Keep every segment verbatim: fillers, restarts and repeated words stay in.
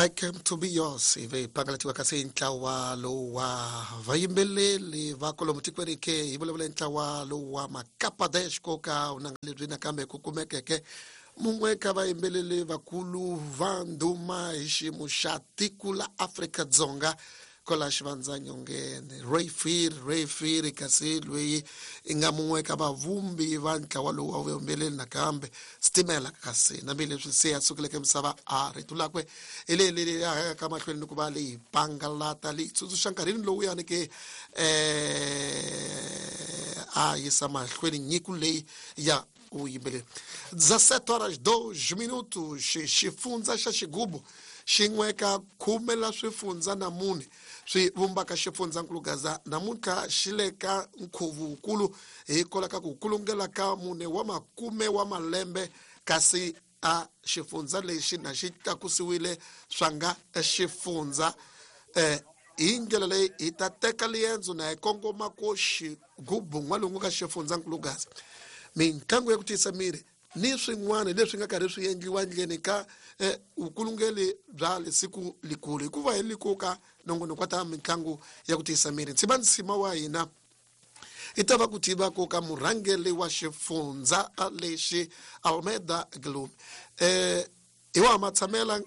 I Came to Be Yours ivi pangalatiwa kasi ntlawa lowu wa vayimbeleli va kwalomu tikweni ke hi vulavula ntlawa lowu wa Makapa Dash koka unanga lebyi nakambe ku kumekeke mun'we ka vayimbeleli vakulu va ndhuma hi xiyimo xa tiko la Afrika-Dzonga kola xivandzanyongeni Ray Phiri Ray Phiri kasi loyi i nga mun'we ka vavumbi va ntlawa lowu wa vuyimbeleri nakambe Stimela kasi nambi leswi se a sukeleke misava a rito lakwe hi leyi leyi ya ka mahlweni ni ku va leyi pangalata leyi tsundzuxa nkarhini lowu yani ke eh a yisa mahlweni nyiko leyi ya vuyimbeleri. dezessete horas dois minutos xifundza xa Xigubu xin'we ka khume la swifundza na mune swi vumbaka xifundzankulu Gaza namuntlha xi le ka nkhuvo wukulu hikwalaho ka ku kulungela ka mune wa makume wa malembe kasi a xifundza lexi na xi tlakusiwile swa nga xifundza eh hi ndlela leyi hi ta teka liendzo na hi kongoma ko Xigubu n'walungu ka xifundzankulu Gaza mitlangu ya ku tiyisa miri ni swin'wana leswi nga karhi swi endliwa ndleni ka eh, vukulungeli bya lesiku likulu hikuva hi likuka nongonoko wa ta mitlangu ya ku tiyisa miri ntsima nsima wa hina i ta va ku tiva ku ka murhangeri wa xifundza lexi Almeida Gloom eh hi wa matshamela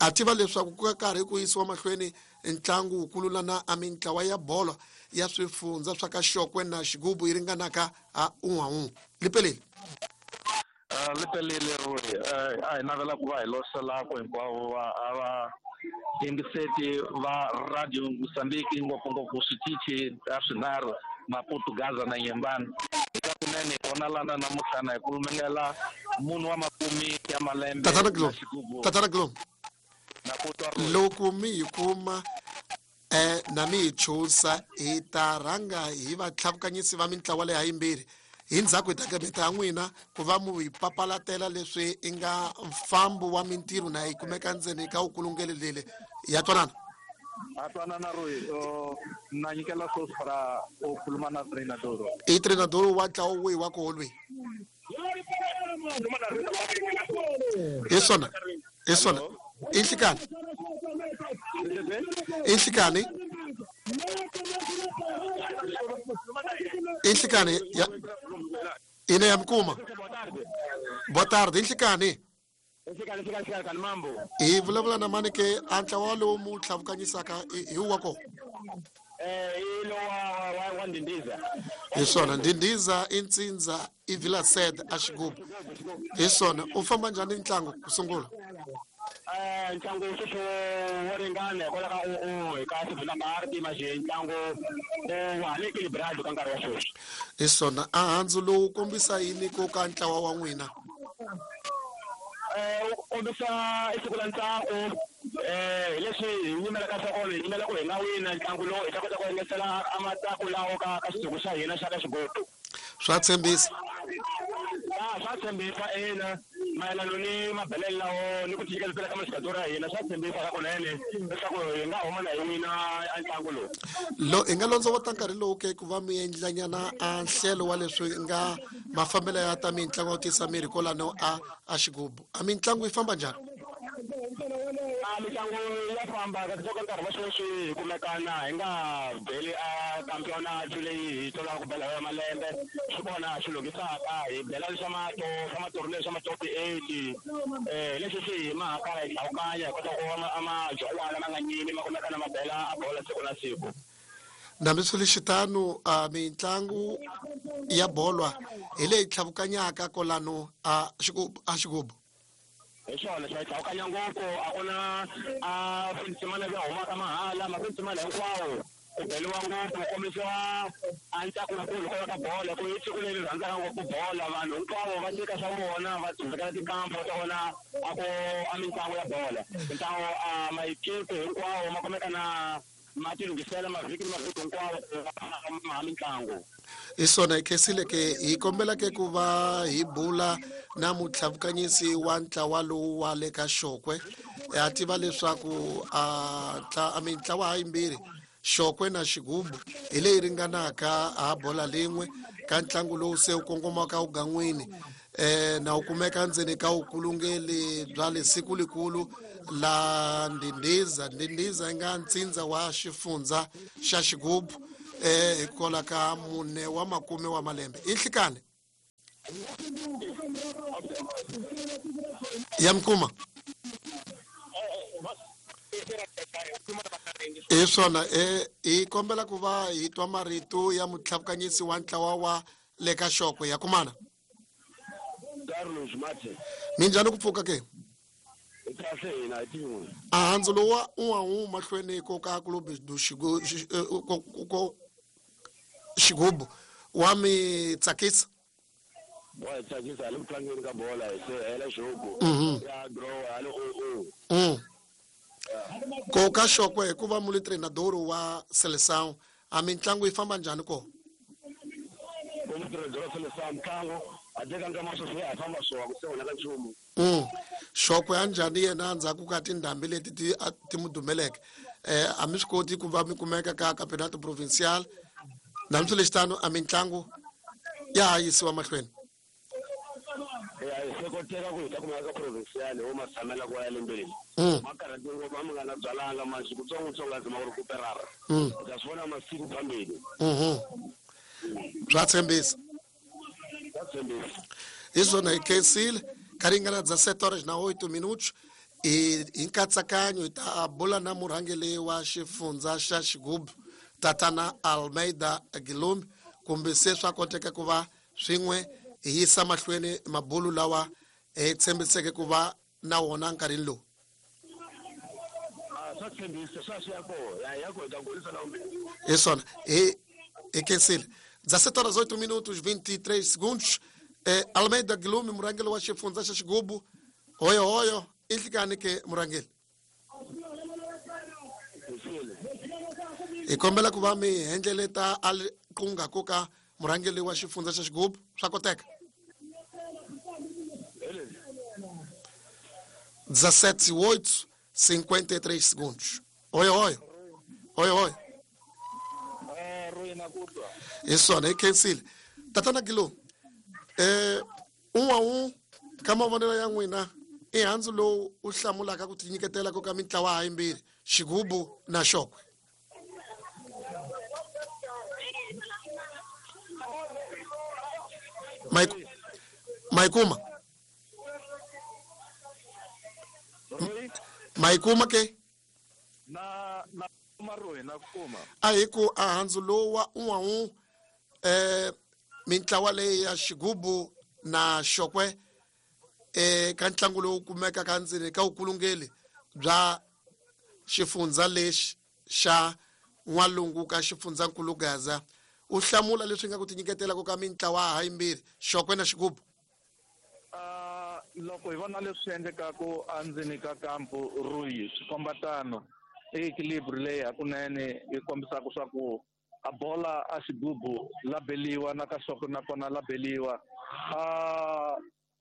a tiva leswaku ku karhi ku yisiwa mahlweni ntlangu wukulu lana a mintlawa ya bolo ya swifundza swa ka Xokwe na Xigubu yi ringanaka a un'we un'we lipeleli lipeleli Roy a hi navela ku va hi loselako hinkwavo va a va yingiseti va Radio Mozambique ngopfungopfu switichi ta swinharhu Maputo, Gaza na Nyembani eka kunene hi vona lana namuntlha na hi kulumengela munhu wa makumi ya malembe Tatana Gloom Tatana Gloom na ku twa Roy loko mi hi kuma eh na mi hi chusa hi ta rhanga hi vatlhavukanyisi va mintlawa leyi hayimbirhi hi ndzhaku hi ta kemeta ya n'wina ku va mu hi papalatela leswi i nga mfambo wa mintirho na yi kumeka ndzeni ka vukulungeli lele ya twanana a twanana Roy na nyikela swoswi para u khuluma na treinador i treinador wa ntlawa wihi wa koho lweyi hi swona hi swona i nhlikani i nhlikani i nhlikani ya ine ya mikuma boa tarde i nhlikani hi vulavula na mani ke a ntlawa lowu mu tlhavukanyisaka hi wa kona hi swona Ndindiza i Ntsindza i Villa Sede a Xigubu hi swona u famba njhani ntlangu ku sungula ntlangu sweswo wo ringana hikwalaho ka u hi ka sivula manje ntlangu wa ha le equilibrado ka nkarhi wa sweswi hi swona a handzu lowu kombisa yini ku ka ntlawa wa n'wina eh u kombisa i siku la ntsako eh hi leswi hi yimelaka swa kona hi yimela ku hi nga wina ntlangu lowu hi ta kota ku engetela a matsako lawo ka ka xidzuku xa hina xa ka Xigubu swa tshembisa ya swa tshembisa ina mayelana ni mabelelo lawo ni ku tinyiketela ka maxikatoro ya hina swa tshembisa ka kunene leswaku hi nga huma na hi wina a ntlangu lowu lo hi nga londzovota nkarhi lowu ke ku va mi endlanyana a nhlelo wa leswi nga mafambelo ya ta mitlangu ya ku tiyisa miri kwalano a a Xigubu a mitlangu yi famba njhani a mitlangu ya famba kasi ka nkarhi wa sweswi hi kumekana hi nga beli a campionato leyi hi tolaka ku bela ya malembe swi kona swi lunghisaka hi bela leswa mato swa matorneo swa ma-top eight eh leswi swi hi mahaka hi hlawukanya hi kota ku va majolwana ma nga nyimi ma kumekana ma bela a bola siku na siku nambi swi ri xitano a mitlangu ya bolwa hi leyi tlhavukanyaka kwalano a Xigubu a Xigubu hi swona swa hlawukanya ngopfu a ku na a swinsimana leswi humaka mahala mafinsimana hinkwawo ku beliwa ngopfu ku kombisiwa a ntsako wukulu hikwalaho ka bolo ku i siku leri rhandzaka ngopfu bola vanhu hinkwavo va teka swa vona va dzundzekela tikampo ta vona a ku a mitlangu ya bola mitlangu a mayikipe hinkwawo ma kumeka na ma tilunghisela mavhiki ni mavhiki hinkwawo ma mitlangu hi swona hi khensile ke hi kombela ke ku va hi bula na mutlhavukanyisi wa ntlawa lowu wa le ka Xokwe ha tiva leswaku a a mintlawa hayimbirhi Xokwe na Xigubu hi leyi ringanaka a bola lin'we ka ntlangu lowu se wu kongomaka ugan'wini eh na u kumeka ndzeni ka ukulungeli bya le siku likulu la Ndindiza. Ndindiza nga ntsindza wa xifundza xa Xigubu eh hikola ka mune wa makume wa malembe. Inhlikane ya mkuma i swona e hi kombela ku va hi twa marito ya mutlhavukanyisi wa ntlawa wa le ka Xokwe ya kumana Carlos Mate. Minjhani ku pfuka ke? Kahle hina hi tin'we. A handzu lowu wa u wu mahlweni ko ka club do Xigu ko Xigubu wa mi tsakisa? Wa tsakisa le ku tlangeni ka bola hi se hela Xigubu. Ya draw ya le o o. Mm. Ko ka Xokwe hikuva mu le treinador wa Seleção a mintlangu yi famba njhani ko? Ko mu treinador wa Seleção mintlangu a teka nkama sweswi ya famba swo ku se wona ka nchumu. Mm. Xokwe a njhani yena ndzhaku ka tindhambi leti ti ti mu dumeleke eh a mi swi koti ku va mi kumeka ka campeonato provincial na mi swilexitano a mintlangu ya ha yisiwa mahlweni. Ya se koteka ku hi ta kumeka ka provincial ho ma tshamela ku ya lembeni. Ma karhati ngopfu a mi nga na byalanga manje kutsongotsongo a zama ku recuperara. U ta swi vona masiku phambili. Mhm. Bya tshembisa. Bya tshembisa. Hi swona hi khensile ka ringana dezessete horas na oito minutos e hi nkatsakanyo hi ta bula na murhangeri wa xifundza xa Xigubu Tatana Almeida Gilumbi kumbe se swa koteka ku va swin'we hi yisa mahlweni mabulu lawa hi tshembiseke ku va na wona nkarhini lowu. Swa tshembisa swa swi ya kona ya ko hi ta kulisa na vumbirhi. Hi swona hi hi khensile. dezessete horas oito minutos vinte e três segundos. Eh, Almeida Gilumbi murhangeri wa xifundza xa Xigubu hoyo hoyo inhlikani ke murhangeri. Hi kombela ku va mi hendleleta kunga ko ka murhangeri wa xifundza xa Xigubu swa koteka? dezessete oito cinquenta e três segundos. Hoyo hoyo. Hoyo hoyo. Hi swona hi khensile. Tatana Gilumbi eh um a um ka mavonelo ya n'wina i handzu lowu u hlamulaka ku tinyiketela ko ka mintlawa ha yimbirhi Xigubu na Xokwe. Mike Maikuma Maikuma ke na na marohi na kuma a hi ku a handzu lowu wa um a um eh mintlawa leyi ya Xigubu na Xokwe eh ka ntlangu lowu kumeka ka ndzeni ka ukulungeli bya xifundza lexi xa N'walungu ka xifundzankulu Gaza u hlamula leswi nga ku tinyiketela ko ka mintlawa ha yimbirhi Xokwe na Xigubu. Uh, loko hi vona leswi endlekaku endzeni ka kampu Ruyi swi komba tano i equilibre leyi hakunene yi kombisaka swa ku a bola a Xigubu la beliwa na ka Xokwe nakona la beliwa. A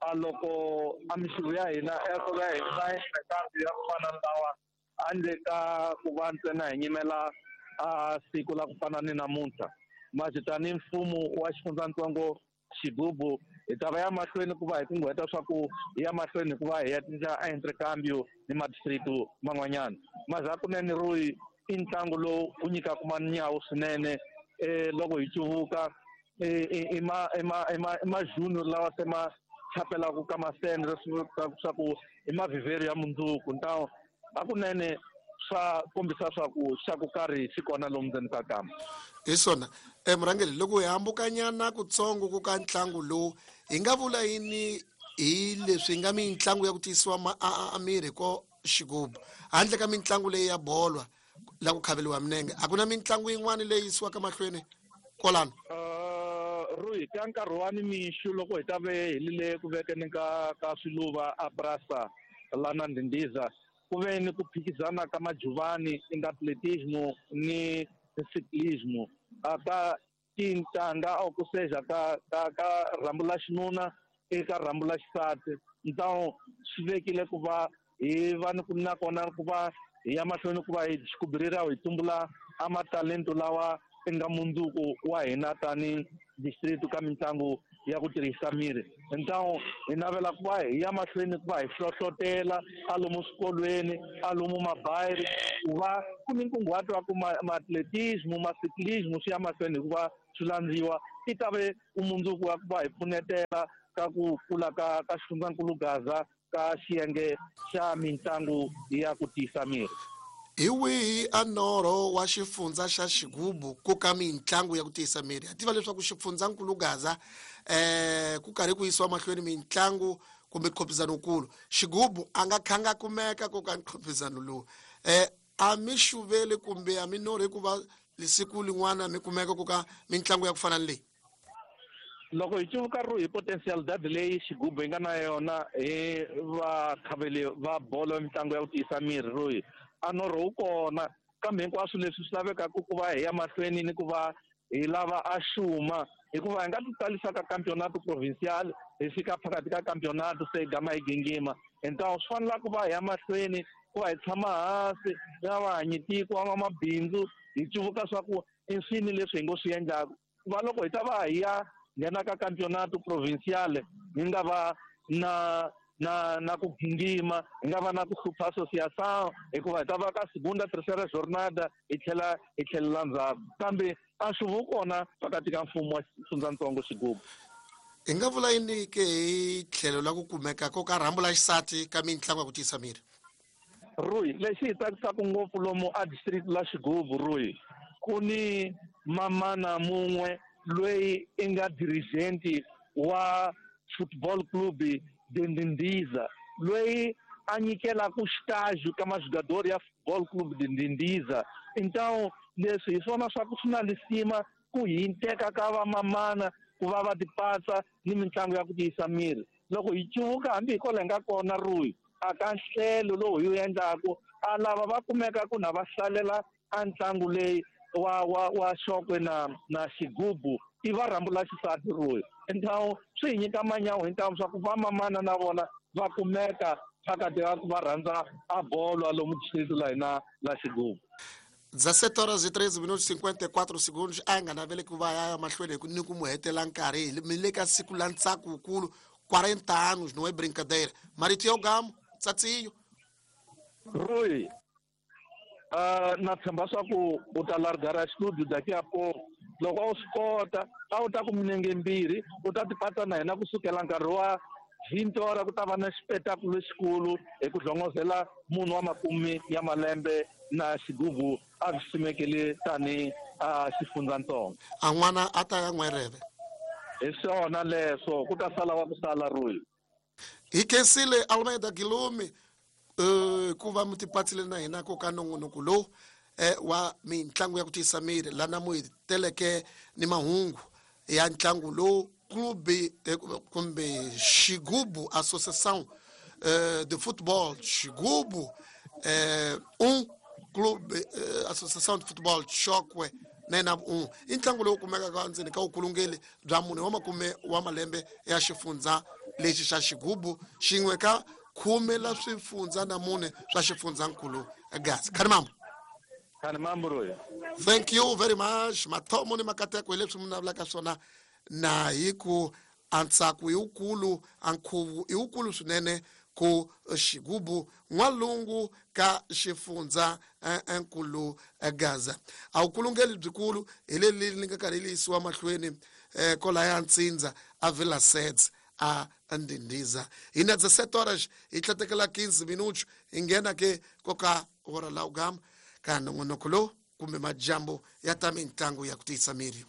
a loko a mixuvo ya hina ya ya hina ya ku fana na lawa handle ka ku va ntsena hi nyimela a siku la ku fana ni namuntlha manje tanihi mfumo wa xifundzatsongo Xigubu hi ta va ya mahlweni ku va hi kunguheta swa ku hi ya mahlweni ku va hi ya cinca a intercambio ni madistrict man'wanyana. Maze hakunene Ruyi i ntlangu lowu wu nyikaka manyawu swinene eh loko hi cuvuka i ma i ma i ma junior lawa se ma chapelaka ka masende swa ku i mavhivheri ya mundzuku ntawo hakunene swa kombisa swa ku xa ku karhi xi kona lomu ndzeni ka kamba. Hi swona eh murhangeri loko hi hambukanyana kutsongo ku ka ntlangu lowu hi nga vula yini hi leswi nga mintlangu ya ku tiyisiwa a miri ko Xigubu handle ka mintlangu leyi ya bolwa la ku khaveliwa minenge a ku na mintlangu yin'wana leyi yisiwaka mahlweni kwalano? Ruyi ka nkarhi wa nimixo loko hi ta ve hi lile ku vekeni ka ka swiluva a Brasa lana Ndindiza ku ve ni ku phikizana ka majuvani inga atletismo ni ciclismo a ka tintanga or ku seja ka ka ka rhambu la xinuna eka rhambu la xisati ntawo swi vekile ku va hi va ni ku nakona ku va hi ya mahlweni ku va hi xikubirira hi tumbula a matalento lawa i nga mundzuku wa hina tani district ka mitlangu ya ku tirhisa miri. Então hi navela ku va hi ya mahlweni ku va hi hlohlotela a lomu swikolweni, a lomu mabayiri, ku va ku ni nkunguhato wa ku ma-atletismo, ma-cyclismo swi ya mahlweni hikuva swi landziwa. I ta ve vumundzuku wa ku va hi pfunetela ka ku kula ka ka xifundzankulu Gaza ka xiyenge xa mitlangu ya ku tiyisa miri. Hi wihi a norho wa xifundza xa Xigubu ku ka mitlangu ya ku tiyisa miri? Ha tiva leswaku xifundzankulu Gaza eh ku karhi ku yisiwa mahlweni mitlangu kumbe nkhopizano wukulu. Xigubu a nga khanga kumeka ku ka nkhopizano lowu. Eh a mi xuveli kumbe a mi norhi ku va siku lin'wana mi kumeka ku ka mitlangu ya ku fana ni leyi? Loko hi cuvuka ro hi potentialidade leyi Xigubu hi nga na yona hi vakhaveli va bolo ya mitlangu ya ku tiyisa miri royi, a norho wu kona, kambe hinkwaswo leswi swi lavekaka ku va hi ya mahlweni ni ku va hi lava a xuma, hikuva hi nga ti tsalisa ka campeonato provincial, hi fika phakathi ka campeonato se hi gama hi gingima. Então swi fanela ku va hi ya mahlweni ku va hi tshama hansi na vahanyitiko va mabindzu hi cuvuka swa ku i swini leswi hi ngo swi endlaka. Ku va loko hi ta va hi ya nghena ka campeonato provincial hi nga va na na na ku gingima, hi nga va na ku hlupha associação, hikuva hi ta va ka segunda, terceira jornada hi tlhela hi tlhelela ndzhaku. Kambe a swi wu kona phakathi ka mfumo wa xifundzatsongo Xigubu. Hi nga vula yini ke hi tlhelo la ku kumeka ko ka rhambu la xisati ka mitlangu ya ku tiyisa miri? Rui, lexi hi tsakisaka ngopfu lomu a district la Xigubu, Rui, ku ni mamana mun'we loyi i nga dirigent wa football club Dindindiza, loyi a nyikelaka xitaji ka majogador ya football club Dindindiza. Então leswi hi swona swa ku swi na lisima ku hi teka ka vamamana ku va va tipatsa ni mitlangu ya ku tiyisa miri. Loko hi cuvuka hambi hi kwala hi nga kona Rui, a ka nhlelo lowu hi wu endlaku, a lava va kumeka ku na va hlalela a ntlangu leyi wa wa wa Xokwe na na Xigubu i va rhambu la xisati Rui. Então swi hi nyika manyawu hintamu swa ku vamamana na vona va kumeka phakathi ka ku va rhandza a bolo lomu district la hina la Xigubu. dezessete horas e treze minutos cinquenta e quatro segundos. A nga naveli ku va ya mahlweni ni ku mu hetela nkarhi mi le ka siku la ntsako wukulu, quarenta anos, não é brincadeira. Marito ya Gamo, Tsatsiyo. Rui, uh, na tshemba swa ku u ta largara studio daqui a pouco. Loko a wu swi kota, a wu ta ku minenge mbirhi, u ta tipatsa na hina kusukela nkarhi wa vinte hora ku ta va na xipetakulo lexikulu hi ku hlongozela munhu wa makume ya malembe na Xigubu a swi simekile tani a xifundzatsongo. A n'wana a ta ya n'wereve. Hi swona leswo, ku ta sala wa ku sala Rui. Hi khensile Almeida Guilherme eh ku va mi tipatsile na hina ko ka nongonoko lowu eh wa mitlangu ya ku tiyisa miri lana mu hi teleke ni mahungu ya ntlangu lowu clube kumbe Xigubu Associação eh, de Futebol Xigubu eh, um clube eh, Associação de Futebol Chokwe nena um i ntlangu lowu kumekaka ndzeni ka vukulungeli bya mune wa makume wa malembe ya xifundza lexi xa Xigubu xin'we ka khume la swifundza na mune swa xifundzankulu Gaza. Khanimambo. Khanimambo Rui. Thank you very much. Mathomo ni makateko hi leswi mi navelaka swona na hi ku a ntsako i wukulu, a nkhuvo i wukulu swinene ku Xigubu n'walungu ka xifundza nkulu Gaza. A vukulungeli byikulu hi leli li nga karhi li yisiwa mahlweni eh kolaya Ntsindza a Vila Seds a Ndindiza. Hi na dezessete horas hi tlatekela quinze minutos hi nghena ke koka hora la ugama ka nongonoko lowu kumbe majambo ya ta mitlangu ya ku tiyisa miri.